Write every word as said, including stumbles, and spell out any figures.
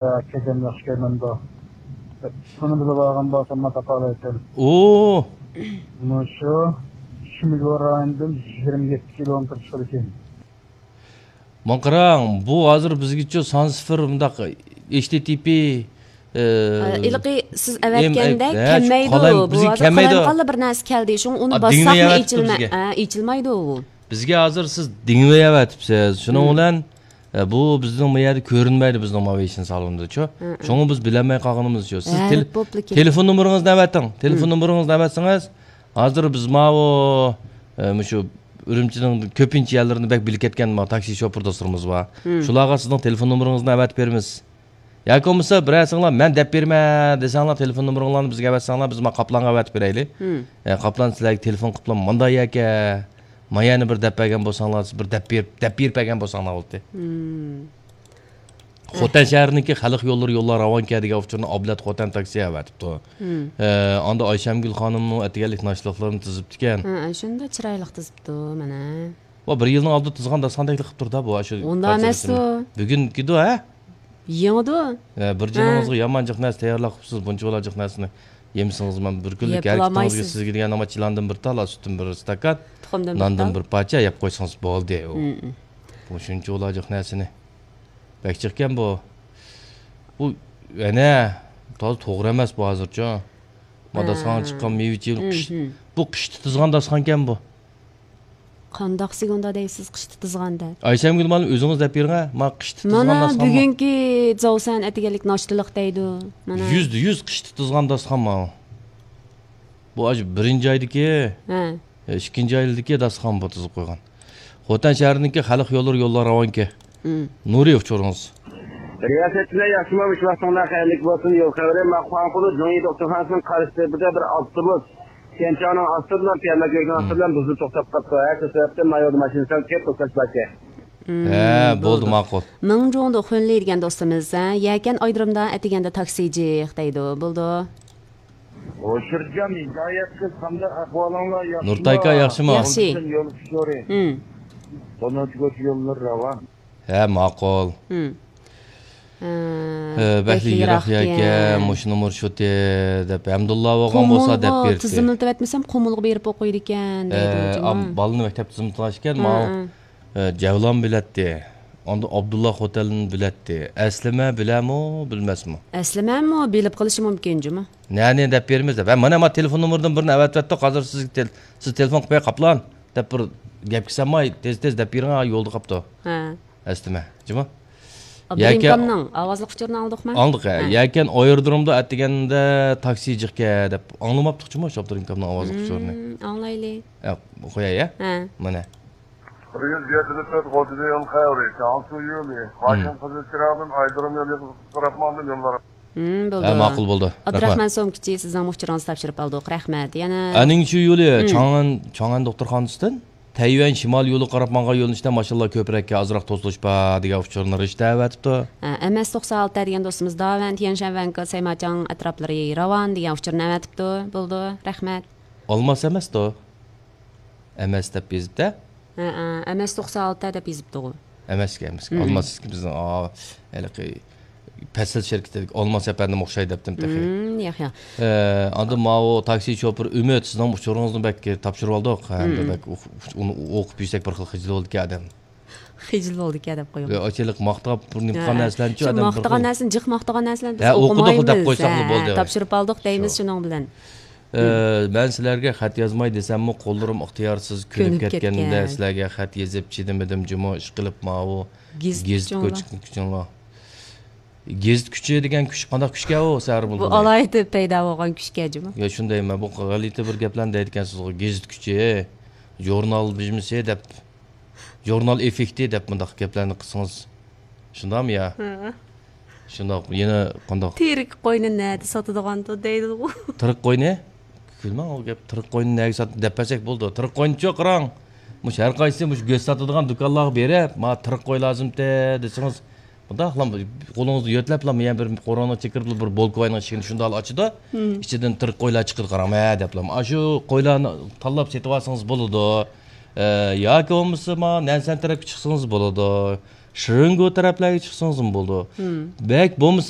كەجەم ياخشى كەلمەمدۇ؟ بۇنى بىلىپ ئالغان بولسام، مانا تاپالايتتىم. ئۇ مۇشۇ شىمگور رايونىدىن يىگىرمە يەتتە كىلومېتىر چىقىدىكەن. ماڭا قاراڭ، بۇ ھازىر بىزگىچە سان سىفىر مۇنداق، ھېچ تى تى پى، ئە، ھېلىقى سىز ئەۋەتكەندە ھە، كەلمەيدۇ. قالايم-، بۇ بىزگە ھازىر كەلمەيدۇ. قالايمىقانلا بىر نەرسە كەلدى. شۇڭا ئۇنى ئا، باسساقمۇ دىڭمەيۋاتىپتۇ ئېچىلمە-، بىزگە. ھە، ئېچىلمايدۇ ئۇ. بىزگە ھازىر سىز دىڭمەيۋاتىپسىز. شۇنىڭ بىلەن، ئە، بۇ بىزنىڭ بۇ يەردە كۆرۈنمەيدۇ، بىزنىڭ ماۋېشىن سالونىدىچۇ. ھە، ھە. شۇڭا بىز بىلەلمەي قالغىنىمىزچۇ. سىز ھە، تېل-، بوپلا كېتىدۇ. تېلېفون نومۇرىڭىزنى ئەۋەتىڭ. تېلېفون نومۇرىڭىزنى ئەۋەتسىڭىز، ھازىر بىز ماۋۇ، ئە، مۇشۇ ئۈرۈمچىنىڭ كۆپىنچە يەرلىرىنى بەك بىلىپ كەتكەن ما تاكسى شوپۇر دوستلىرىمىز بار. شۇلارغا سىزنىڭ تېلېفون نومۇرىڭىزنى ئەۋەتىپ بېرىمىز. ياكى بولمىسا بىرەرسىڭلار مەن دەپ بېرىمەن دېسەڭلار، تېلېفون نومۇرۇڭلارنى بىزگە ئەۋەتسەڭلار، بىز ما قاپلانغا ئەۋەتىپ بېرەيلى. ئە، قاپلان سىلەرگە تېلېفون قىپلا مانداق يەكە، ما يەنە بىر دەپ بەرگەن بولساڭلار، سىز بىر دەپ بېرىپ، دەپ بېرىپ بەرگەن بولساڭلار بولدى. خوتەن شەھىرىنىڭكى خەلق يوللىرى يوللار راۋانكەن دېگەن ئۇچۇرنى ئابلەت خوتەن تاكسى ئەۋەتىپتۇ. ئە، ئاندا ئايشەمگۈل خانىمنىڭ ئەتىگەنلىك ناشتىلىقلىرىنى تىزىپتىكەن. ھە، شۇنداق چىرايلىق تىزىپتۇ، مانا. ۋا، بىر يىلنىڭ ئالدىدا تىزغان داستىخان تەكلىپ قىلىپتۇ-دا، بۇ، شۇ ئۇنداق ئەمەستۇ. بۈگۈنكىدۇ، ھە؟ يېڭىدۇ. ھە، بىر جېنىڭىزغا يامان جىق نەرسە تەييارلاپ قىپسىز، بۇنچە بالا جىق نەرسىنى يېمىسىڭىز، مەن بىر كۈنلۈك ھەر ئىككىڭىزگە، سىزگە دېگەن ئاما چىلاندىن بىر تال، سۈتتىن بىر ئىستاكان، ناندىن بىر پارچە يەپ قويسىڭىز بولدى. ئۇ، ئۇ شۇنچە بالا جىق نەرسىنى. بەك جىقكەن بۇ. بۇ، ئەنە، تازا توغرا ئەمەس بۇ ھازىرچۇ. ما داستىخانغا چىققان مېۋە-چېۋە، بۇ قىشتا تىزغان داستىخانكەن بۇ. قانداق سىگۇندا دەيسىز، قىشتا تىزغان دەپ؟ ئايشەمگۈل مانا ئۆزىڭىز دەپ بېرىڭە، ما قىشتا تىزغان داستىخان. مانا بۈگۈنكى زاۋسەن ئەتىگەنلىك ناشتىلىق دەيدۇ. مانا. يۈزدە يۈز قىشتا تىزغان داستىخان ماۋۇ. بۇ ئاشۇ بىرىنچى ئايدىكى، ھە. ئىككىنچى ئايدىكى داستىخان بۇ تىزىپ قويغان. خوتەن شەھىرىنىڭكى خەلق يوللىرى يوللار راۋانكى. نۇرى ئۇچۇرىڭىز. رىياسەتچىلەر ياخشىمۇ؟ مۇشۇ ۋاقتىڭلار خەيرلىك بولسۇن. يول خەۋىرى، ما خۇاڭخۇلۇ جۇڭيى دوختۇرخانىسىنىڭ قارشى تېپىدە بىر ئاپتوبۇس تيەنچاڭنىڭ ئاستىدىن، تيەنمەن كۆۋرۈكىنىڭ ئاستىدىن بۇزۇلۇپ توختاپ قاپتۇ. ھە، شۇ سەۋەبتىن ما يولدا ماشىنا سەل كۆپ توختاش باركەن. ھە، بولدى، ماقۇل. مىڭجۇڭدۇ خۇنلى دېگەن دوستىمىز، ھە، يەكەن ئايرودرومدا ئەتىگەندە تاكسى جىق دەيدۇ. بولدى. ھوشۇرجان، ھىدايەت قىز، قانداق ئەھۋالىڭلار؟ ياخشىما؟ نۇرتايكا، ياخشىمۇ؟ ياخشى. يول ئۇچۇرى. قوناق كوچا يوللىرى راۋان. ھە، ماقۇل. ھە، بەكلا يىراق يەكەن، مۇشۇ نومۇر شۇتى دەپ، ھەمدۇللا بولغان بولسا دەپ بېرىتتى. تىزىملىتىۋەتمىسەم، قۇمۇلغا بېرىپ ئوقۇيدىكەن دەيدۇ. ئە، جۇمۇ. بالىنى مەكتەپتە تىزىملىتىۋالغان ئىكەن، ماۋۇ، ئە، جەۋلان بىلەتتى. ئاندىن ئابدۇللا خوتەننى بىلەتتى. ئەسلىمە بىلەمۇ، بىلمەسمۇ؟ ئەسلىمەمۇ بىلىپ قېلىشى مۇمكىن جۇمۇ. نەنى دەپ بېرىمىز دەپ. ھە، مانا، ما تېلېفون نومۇرىدىن بىرنى ئەۋەتىۋەتتۇق. ھازىر سىزگە تېل-، سىز تېلېفون قىلىپ بېرىڭ، قاپلان دەپ بىر گەپ قىلسام، ما، تېز-تېز دەپ بېرىڭ، ھا، يولدا قاپتۇ. ھە. ئەسلىمە، جۇمۇ. ئابدۇرېھىمكامنىڭ ئاۋازلىق ئۇچۇرىنى ئاڭلىدۇقمۇ؟ ئاڭلىدۇق، ھە. ھە. يەكەن ئايرودرومدا ئەتىگەندە تاكسى جىقكەن دەپ ئاڭلىماپتۇقچۇمۇ شۇ ئابدۇرېھىمكامنىڭ ئاۋازلىق ئۇچۇرىنى؟ ئاڭلايلى. ھە، قوياي، ھە؟ ھە. مانا. يۈز يەتتە تۆت غوجىدىيون خەۋىرى، جياڭسۇ يولى، ماشىنا قىزىل چىراغدىن ئايرودروم يولىغا قاراپ ماڭدى يوللار. ھە، ماقۇل بولدى. ئابدۇراخمان سومكىچى، سىزنىڭ ئۇچۇرىڭىزنى تاپشۇرۇپ ئالدۇق. رەھمەت. يەنە ئەنىڭشۈ يولى، چاڭئەن، چاڭئەن دوختۇرخانىسىدىن تەييۈەن شىمال يولىغا قاراپ ماڭغان يۆنىلىشتە ماشىنىلار كۆپرەككەن، ئازراق توسۇلۇش بار دېگەن ئۇچۇرنى رىشتە ئەۋەتىپتۇ. ھە، ئەم ئەس توقسەن ئالتە دېگەن دوستىمىز داۋەن، تيەنشەن ۋەنكې، سەيماچاڭ ئەتراپلىرى راۋان دېگەن ئۇچۇرنى ئەۋەتىپتۇ. بولدى، رەھمەت. ئالماس ئەمەستۇ؟ ئەم ئەس دەپ يېزىپتە. ھە، ھە، ئەم ئەس توقسەن ئالتە دەپ يېزىپتىغۇ. ئەمەسكەن، ئەمەسكەن. ئالماس سىزكى بىزنىڭ، ئا، ھېلىقى پەسىل شىركىتىدىكى ئالماس ئەپەندىم ئوخشاي دەپتىم تېخى. ياق، ياق. ئە، ئاندىن ماۋۇ تاكسى شوپۇر ئۈمىد، سىزنىڭ ئۇچۇرىڭىزنى بەك تاپشۇرۇۋالدۇق. ھەمدە بەك ئۇ-، ئۇنى ئوقۇپ يۈرسەك بىر خىل خىجىل بولىدىكەن ئادەم. خىجىل بولىدىكەن دەپ قويۇڭ. ئاچىلىق ماختاپ بىر نېمە قىلغان نەرسىلەرنىچۇ ئادەم بىر خىل. ماختىغان نەرسىنى، جىق ماختىغان نەرسىلەرنى بىز ئوقۇمايمىز. ھە، ئوقۇدۇق دەپ قويساقلا بولدى. تاپشۇرۇپ ئالدۇق دەيمىز شۇنىڭ بىلەن. ئە، مەن سىلەرگە خەت يازماي دېسەممۇ، قوللىرىم ئىختىيارسىز كۆنۈپ كەتكەندە، سىلەرگە خەت يېزىپ چىدىمىدىم جۇمۇ، ئىشقىلىپ ماۋۇ گېزىت كۈچىڭلار. گېزىت كۈچى دېگەن كۈچ قانداق كۈچكەن ئۇ، سەھەر بۇ؟ بۇ ئالاھىدە پەيدا بولغان كۈچكەن جۇمۇ. يا، شۇندايمەن، بۇ غەلىتە بىر گەپلەرنى دەيدىكەنسىزغۇ، گېزىت كۈچى، ژۇرنال بىژمىسى دەپ. ژۇرنال ئېففېكتى دەپ مۇنداق گەپلەرنى قىلسىڭىز، شۇنداقمۇ يا؟ ھە. شۇنداق، يەنە قانداق؟ تىرىك قوينى نەدە ساتىدىغاندۇ دەيدىغۇ. تىرىك قوينى؟ كۈلمەڭ، ئۇ گەپ، تىرىك قوينى نەگە سات-، دەپ بەرسەك بولىدۇ. تىرىك قوينىچۇ قاراڭ، مۇشۇ ھەر قايسى مۇشۇ گۆش ساتىدىغان دۇكانلارغا بېرىپ، ماڭا تىرىك قوي لازىمتى دېسىڭىز، مۇنداقلا قولىڭىزدا يۆتلەپلا، يەنە بىر قورۇنىڭ چېكىرىپلا بىر بولكىۋاينىڭ ئىشىكىنى شۇنداقلا ئاچىدۇ. ئىچىدىن تىرىك قويلار چىقىدۇ، قاراڭ، ھە دەپلا. ئاشۇ قويلارنى تاللاپ سېتىۋالسىڭىز بولىدۇ. ئە، ياكى بولمىسا، ما، نەنسەن تەرەپكە چىقسىڭىز بولىدۇ. شرىنگو تەرەپلەرگە چىقسىڭىزمۇ بولىدۇ. بەك بولمىسا